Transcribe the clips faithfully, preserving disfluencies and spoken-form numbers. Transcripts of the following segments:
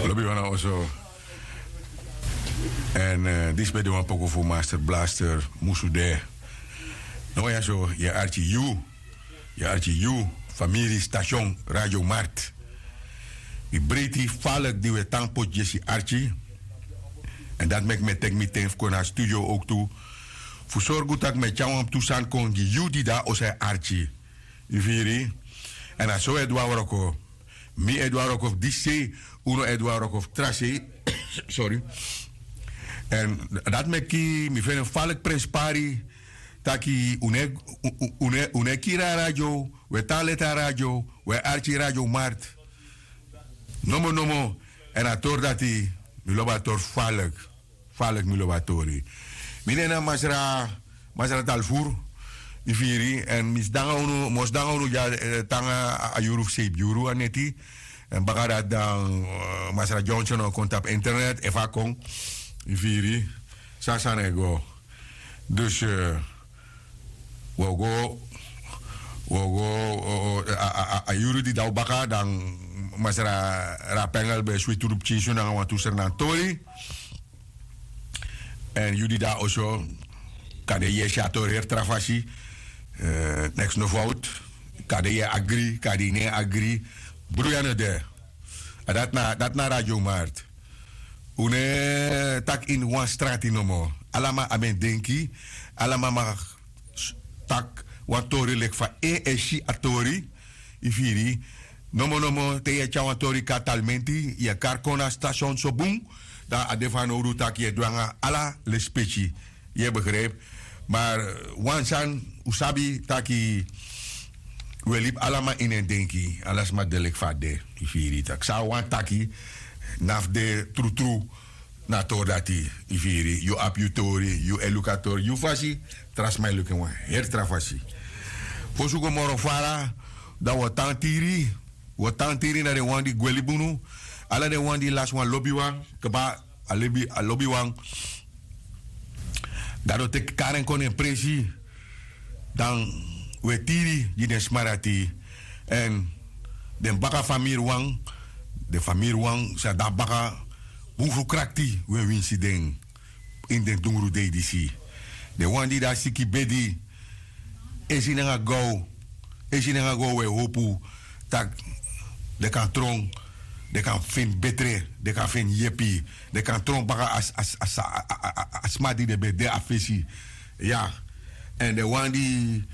Lobi wan na oso. Èn disi ben de wan poku fu Master Blaster, Musu De. No, ya so yu e arki yu, yu e arki yu, famiri, station Radio Mart. Mi breiti falek di wi e tan poti yesi arki. Èn dati meki mi e teki mi ten fu kon na studio owktu, fu sorgu tak' mi e tyari wan tu sani kon gi yu di de na oso e arki. Yu firi? Èn na so wi e du a wroko. Mi e du a wroko fu disi sei, unu e du a wroko fu tra sei. Sorry. Èn dati meki mi feni en falek prenspari, tak' unu e, unu e, unu e kiri a radio, wi e tan leti a radio, wi e arki Radio Mart. Nomo nomo. Èn a tori dati, mi lobi a tori falek. Falek, mi lobi a tori. Mi nen na Masra, Masra Talfuru, yu firi, èn mi sidon nanga unu, mi o sidon nanga unu dya, eh, te nanga a, a yuru fu seibi yuru a neti. Èn baka dati dan, eh, Masra Johnson o kon tapu internet, efu a kon, yu firi, san a sani e go. Dus, eh, wi o go, wi o go, o, o, a, a, a, a yuru di de na baka, dan Masra Rapengel ben switi unu pikinso nanga wantu srenan tori. Èn yu di de na oso, kande yu e si a tori heri tra fasi, eh, neks no fowtu. Kande yu e agri, kande yu no e agri, bruya no de. A dati na, dati na Radio Mart. Un no e taki ini wan strati nomo. Ala man abi en denki, ala man mag s-, taki wan tori leki fa en e si a tori. Yu firi? Nomo nomo te yu e tyari wan tori kon na Talmenti, yu e kari kon na station so bun, dan a de fanowdu taki yu e du nanga ala lespeki. Yu e begrijp? Ma wan sani un sabi taki un e libi ala man ini en denki, ala sma de leki fa a de. Yu firi? Taki san a wani taki, na fu de trutru. Na a tori dati, yu firi, yu abi yu tori, yu e luku a tori yu fasi, tra sma e luku en wan heri tra fasi. Fosi un go moro fara, dan un o tan tiri, un o tan tiri na den wan di gwe libi unu, ala den wan di lasi wan lobiwan kaba, a libi, a lobiwan. Gado teki kari en kon na en presi. Dan un e tiri gi den sma dati. Èn den baka famiriwan, den famiriwan san de na baka, bun fu krakti un e winsi den ini den dungru dei disi. Den wan di de na siki bedi, esi nanga gaw, esi nanga gaw un e howpu tak' den kan tron, den kan feni betre, den kan feni yepi, den kan tron baka a, a, a, a, a sma di den ben de a fesi. Ya. Èn den wan di,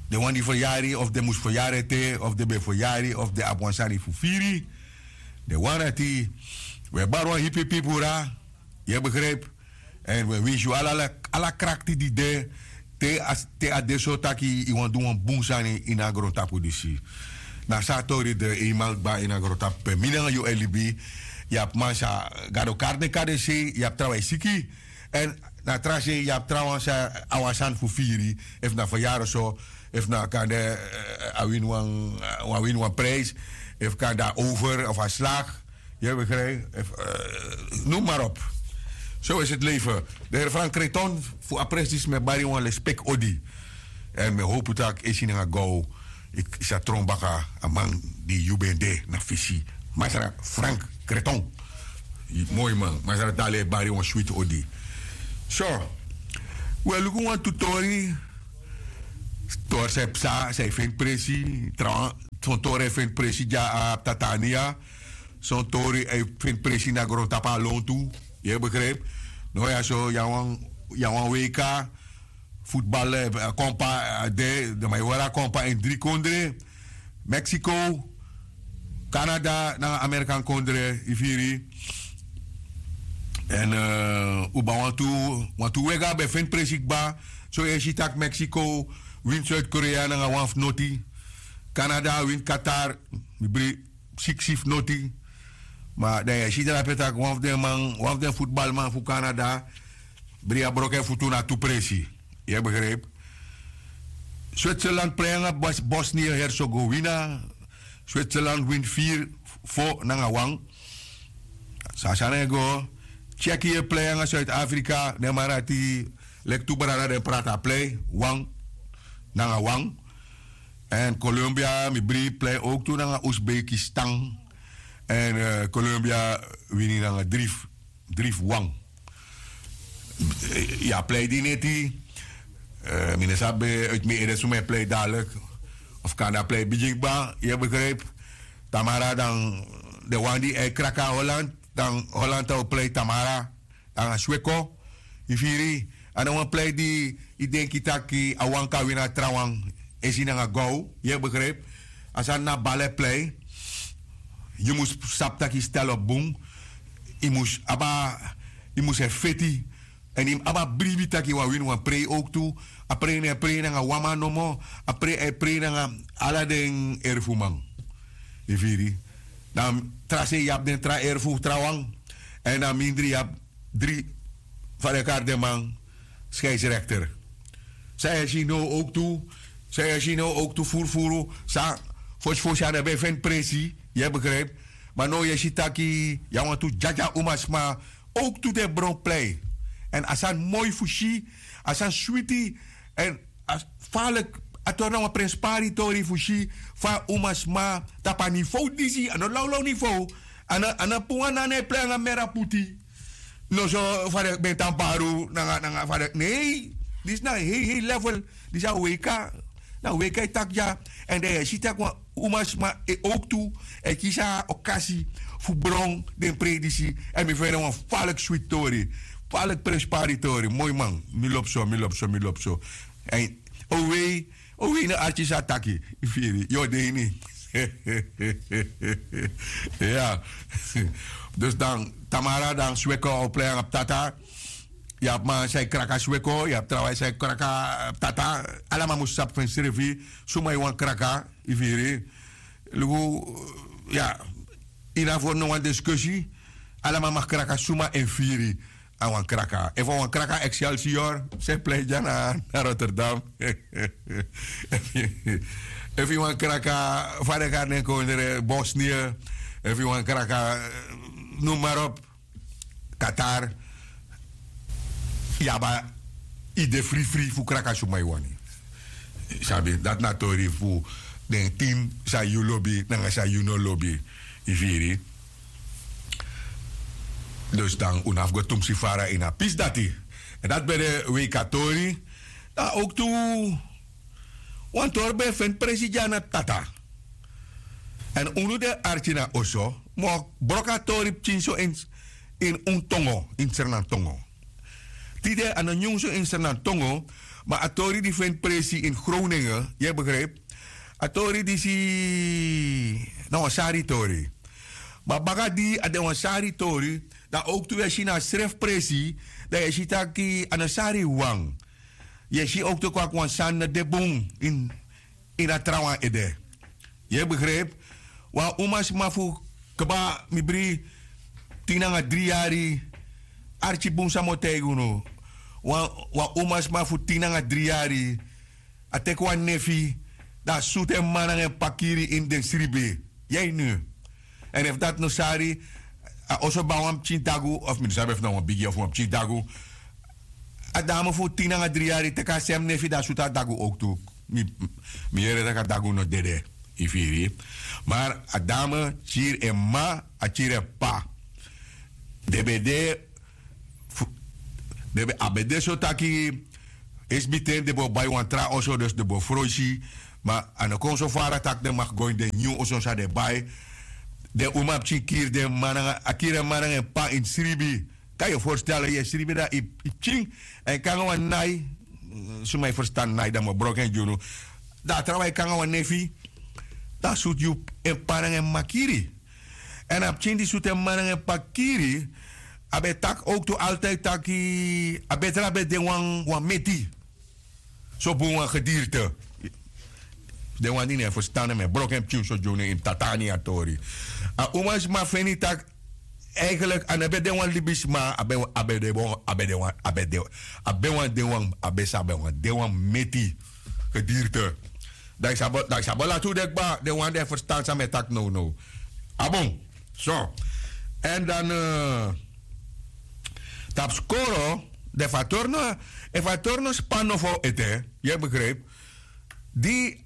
den wan di feryari, of den mus feryari ete, of den ben feryari, of den abi wan sani fu firi. Den wan dati, un e bari wan hipi pipura, yu e begrijp? Èn un e winsi un ala, ala, ala krakti di de, te a, te a de so taki yu wani du wan bun sani ini a grontapu disi. Na so a tori de, eenmaal kba, ini a grontapu pe mi nanga yu e libi. Yu abi man san Gado kari den kon na den sei, yu abi trawan e siki. Èn na tra sei yu abi trawan san a wani sani fu firi, efu na feryari so, efu na kande, eh, a wini wan, a wini wan prijs, efu kande a over of a slag. Yu e begrijp? Efu, eh, noem maar op. Zo is het leven. De heer Frank Kreton, fu a presi disi mi e bari yu wan lespeki odi. Èn mi e howpu tak' esi nanga gaw yu sa tron baka a man di yu ben de na fesi. Masra Frank Kreton. Moi man, Masra Dali e bari yu wan switi odi. So, un e luku wantu tori, tori san e psa, san e feni presi, trawan, son tori e feni presi dya na Tatania, son tori e feni presi na grontapu na lontu, yu e begrijp? No, ya so, yu abi wan, yu abi wan W K, futbal, eh, kompa, eh, de, de man e hori a kompa ini dri kondre, Mexico, Canada, nanga Amerikan kondre, yu firi. Èn, eh, un abi wantu, wantu wega ben feni presi kba, so yu e si tak' Mexico wini Zuid-Korea nanga wan fu noti, Canada wini Qatar, mi bri siksi fu noti. Ma dan yu e si drape tak' wan fu den man, wan fu den futbalman fu Canada bri a broko en futu na tu presi. Yu e begrijp? Switzerland prei nanga Bos-, Bosnië-Herzegovina. Switzerland wini firi fo nanga wan. So a sani e go. Tsjechië prei nanga Zuid-Afrika. Den man dati leki tu brada, den prati a prei wan nanga wan. Èn colombia mi bri plei owktu nanga uzbekistan. Èn colombia wini nanga dri fu wan. Yu a plei di neti. Mi no sabi ben uiti mi ede suma e plei dalik. Of kan na plei bigin kba yu e begripi. Tamara dan den wan di e kraki na holland, dan holland o plei tamara nanga sweko. Yu firi? A no wan plei di yu denki tak' a wan kan wini a trawan. Esi nanga gow yu e begripi. A sani na bal e plei. Yu mus sabi tak' yu stel op bun. Yu mus abi a yu mus e feti. Èn yu mus abi a bribi tak' yu wani wini wan prei owktu. A prei no e prei nanga wan man nomo. A prei e prei nanga ala den erfuman. Yu firi? Na tra sei yu abi den tra erfu trawan. Èn na mindri yu abi dri fa den kari den man. Skeisrekter. San yu e si now owktu san yu e si now owktu furufuru san fosifosi a no ben e feni presi. Yu e begripi? Ma now yu e si taki yu a wantu dyadya umasma owktu den bron plei. Èn a sani moi fu si. A sani switi. Èn a faliki a tori na wan prenspari tori fu si fa umasma tapu a nivow disi a no lawlaw nivow. A no pun wan nana e plei nanga mera puti. Noso fa den ben tan baru nanga nanga fa den nei. Disi na hei hei level. Disi a weika. Na weika e taki dya. Èn dan yu e si tak' wan umasma e owktu e kisi a okasi fu bron den prei disi. Èn mi feni en wan faliki switi tori. Faliki prenspari tori moi man. Mi lobi so mi lobi so mi lobi so. Èn owei owei na arki san a taki. Yu firi yu o de ini. Ya. Dus dan tamara dan sweko o plei nanga ptata. Yu abi man san e kraki a sweko yu abi trawan san e kraki a ptata. Ala man mus sabi fu ensrefi suma yu wani kraki. Yu firi? Luku. Ya. Ini a fori no wan diskusi. Ala man mag kraki suma en firi. A wan kraka efu a wan kraka excelsior, se plei dya na rotterdam. Efu yu wan kraka, fa den kari den kondre bosnië. Efu yu wan kraka, noem maar op. Qatar. Yu abi a ide frifri fu kraka suma yu wani. Sabi dati na tori fu den team san yu lobi nanga san yu no lobi. Yu firi? Dus dan un no abi go tumsi fara ini a pisi dati. Èn dati ben de weiki a tori. Dan owktu wan tori ben e feni presi dya na tata. Èn unu de arki na oso mi o broko a tori pikin so ini un tongo ini sernantongo. Tide a no nyun so ini sernantongo. Ma a tori di feni presi ini groningen yu e begripi? A tori disi na wan sari tori. Ma baka di a de wan sari tori, dan owktu yu e si na a srefi presi. Dan yu e si taki a no sari wawan. Yu e si owktu kon aki wan sani no de bun ini a trawan ede. Yu e begripi? Wan umasma fu kba mi bri, tin nanga dri yari. Arki bun san mi o taigi unu. Wan umasma fu tin nanga dri yari a teki wan nefi, dan a sutu en m'ma nanga en p'pa kiri ini den sribi. Yu e ini? Èn efu dati no sari, a oso bai wan pikin dagu of mi no sabi efu na wan bigi of wan pikin dagu. A dame fu tin nanga dri yari teki a sem nefi dan a sutu a dagu owktu. Mi yere tak' a dagu no dede. Yu firi? Mar a dame kiri en m'ma, a kiri en p'pa. Den ben de fu den ben abi de so taki, esbiten den ben o bai wan tra oso dus den ben o froisi. Ma a no kon so fara tak' den maki go ini den nyun oso san den bai. Den umapikin kiri den m'ma nanga a kiri en m'ma nanga en p'pa ini sribi. Kan yu e forstel yu e sribi dan yu pikin èn yu kon nanga wan nai. Suma yu ferstan nai dan mi o broko en gi unu. Dan a trawan e kon nanga wan nefi. Dan a sutu yu en p'pa nanga en m'ma kiri. Èn a pikin di sutu en m'ma nanga en p'pa kiri, a ben e taki owktu altide taki a betre a ben de wan meti. So bun wan gedirte. Den wan di no e ferstan en mi e broko en pikin so gi unu ini tata na ini a tori. A umasma feni tak' eigenlik a no ben de wan libisma a ben a ben de wan a ben de wan a ben de wan a ben wan de wan a ben sa ben wan de wan meti. Gedirte. Dan yu sabi lati un de kba den wan di e ferstan san mi e taki nownow. A bun. So. Èn dan tapu skoro, dan efu a tori no efu a tori no span nofo ete, yu e begripi? Di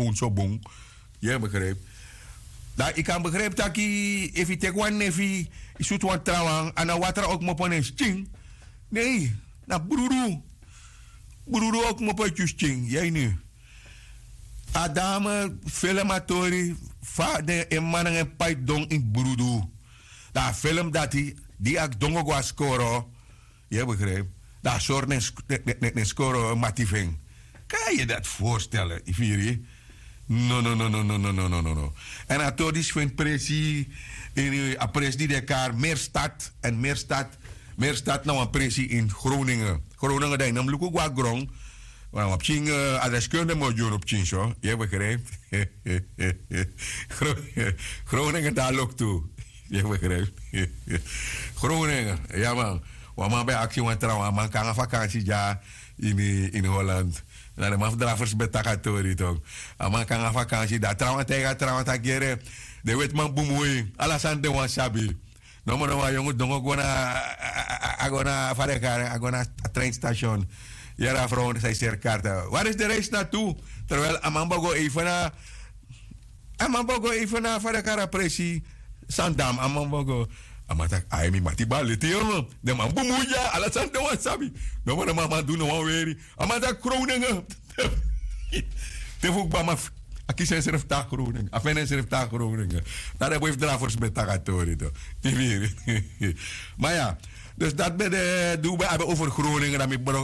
telefoon so bun. Yu e begrijpi? Dan yu kan begrijpi taki efu yu teki wan nefi, yu sutu wan trawan, a no watra o kmopo na en skin. Nei, na brudu. Brudu o kmopo e tyuskin. Yu e ini? A dame film a tori fa den en man nanga en pai don ini brudu. Dan a film dati di a dongo go a skoro. Yu e begrijpi? Dan a sori den skoro mati fu en. Kan yu dati voorstellen? Yu firi? No no no no no no no no no no. Èn a tori disi feni presi ini a presi di de kari merstad. Èn merstad, merstad na wan presi ini groningen. Groningen dan yu no mus luku go na gron. Wan pikin, a deskunde mi o gi unu pikin so. Yu e begrijpi? Groningen dan loktu. Yu e begrijpi? Groningen, ya man. Wan man ben aksi wan trawan, a man kon nanga vakansi dya ini ini holland. Na den man fu drafers ben taki a tori tok. A man kon nanga vakansi dan a trawan taigi a trawan taki yere, den wetiman bun mus wei, ala sani den wani sabi. Nomo nomo a yongu dongo go na, a go na fa den e kari en, a go na a treinstation. Yere a frow san yu seri karta, wari isi den reisi na tu? Terwijl a man bo go eifen na, a man bo go eifen na fa den e kari a presi, sandam a man bo go. A man taki ai mi mati bari leti yongu, den man bun mus dya, ala sani den wani sabi. Nomo nomo a man du no wan weri. A man taki groningen. Te fu kba man a kisi ensrefi tan groningen, a feni ensrefi tan groningen. Na den boi fu drafers ben taki a tori to. Yu firi? Ma ya, dus dati ben de di un ben abi over groningen,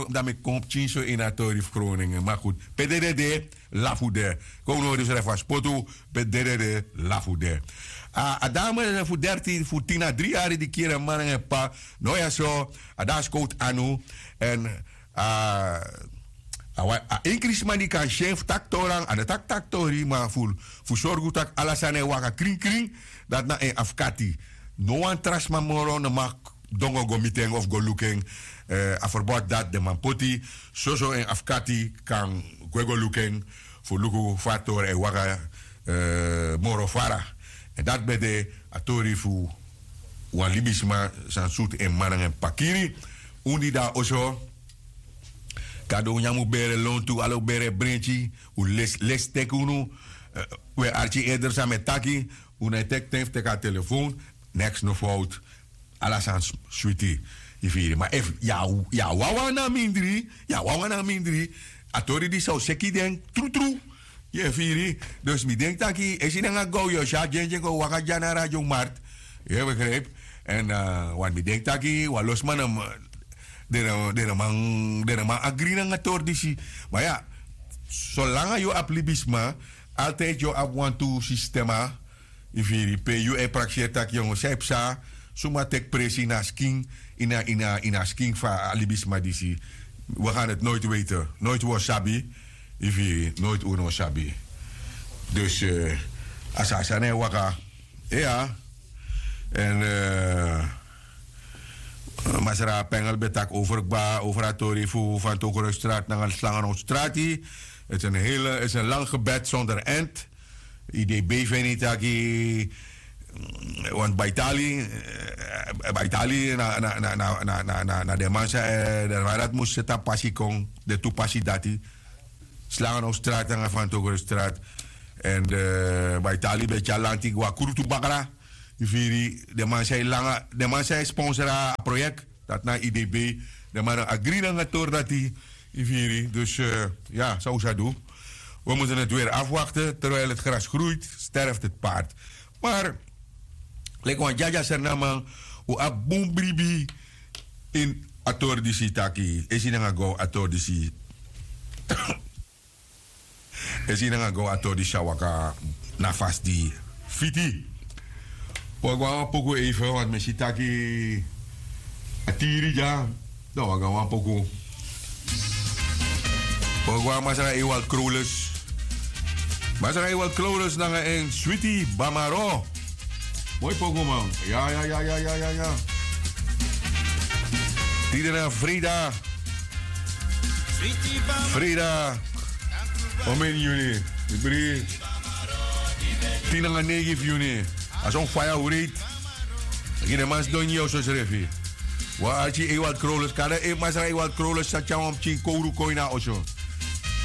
dan mi kon pikin so ini a tori fu groningen ma gud, pe dede de, lafu de. Kon un no hori yusrefi a spotu, pe dede de, lafu de. A dame fu dertin fu tin na dri yari di kiri en man nanga en p'pa, no ya so, a de na skowtu anu. Èn a a wan a enkri sma di kan si en fu taki tori nanga a no taki taki tori ma fu fu sorgu tak' ala sani e waka krinkrin. Dati na en afkati. No wan tra sma moro no mag dongo go miti en of go luku en. A ferbot dati den man poti, soso en afkati kan gwe go luku en fu luku fa a tori e waka moro fara. Èn dati ben de a tori fu wan libisma san sutu en m'ma nanga en p'pa kiri. Un di de na oso, kado un nyan mus bere lontu ala un bere brenti. Un lesi teki unu. Un e arki eder san mi e taki. Un no e teki ten fu teki a telefoon. Neks no fowtu. Ala sani switi. Yu firi ma efu yu a wawan na mindri, yu a wawan na mindri, a tori disi sa o seki den trutru. Yu e firi? Dus mi denki taki esi nanga gow yu o si a dyendyen kon waka dya na a radio mart. Yu e begripi? Èn wani mi denki taki wan lo sma no man den no man agri nanga tori disi. Ma ya, solanga yu abi libisma, altidi yu o abi wantu sistema. Yu firi? Pe yu e prakseri tak' yu no sabi psa. Suma teki presi ini a skin, ini a skin fu a libisma disi. Wi gan dati noiti weiti. Noiti wi o sabi. Yu firi? Noiti unu o sabi. Dus a sani e waka. Iya. Èn masra pengel ben taki over kba over a tori fu fantokrusstrati nanga slangenowstrati. Eti en hele eti en lang gebed sonder end. Idb feni taki want baitali, baitali na den man san e den man dati mus seti a pasi kon, den tu pasi dati. Slangenowstrati nanga fantokrusstrati. Èn baitali ben tyari lanti go na krutu bakra. Yu firi? Den man san e sponsor a proyek, dati na idb. Den man no agri nanga tori dati. Yu firi? Dus ya san un sa du. Wi mutu neti weri afwakte terwijl heti gras groeit, sterfti heti paard. Mar leki wan dyadya sernaman, un abi bun bribi ini a tori disi taki esi nanga gow a tori disi. Esi nanga gow a tori disi a waka na fasi di fiti. Wi o go na wan poku eifen want mi e si taki a tiri dya. Dan wi o go na wan poku. Wi o go na masra ewald krowles. Masra ewald krowles nanga en switi bamaro. Moi poku man. Ya ya ya ya ya ya. Tide na frida. Frida. Omen yuni. Ibri. Tin nanga neigi fu yuni. A son faya wreiti. Gi den man sidon ini yu oso srefi. Wan arki Ewald Krolus, kande efu masra Ewald Krolus sa tyari wan pikin kowru kon ini a oso.